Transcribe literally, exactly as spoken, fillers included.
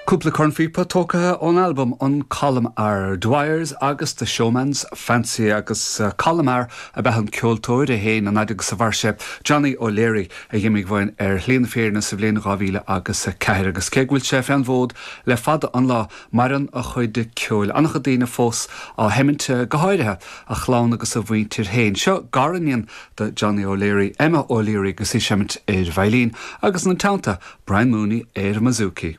Cúpla cornphíopa tógtha ón albam an Colm R. Dwyers agus The Showman's Fancy agus uh, Colm R ab ea an ceoltóir a sheinn an fhad agus a mhair sé Johnny O'Leary a d'imigh uainn ar shlí na fírinne sa bhliain dhá mhíle agus a ceathair agus cé go bhfuil sé fén bhfód le fada an lá maireann a chuid ceoil an-chuid daoine fós á sheimint go háirithe a chlann agus a mhuintir féin. Seo gariníon do Johnny O'Leary, Emma O'Leary agus í ag seimint ar veidhlín agus ina teannta Brian Mooney ar an mbouzouki.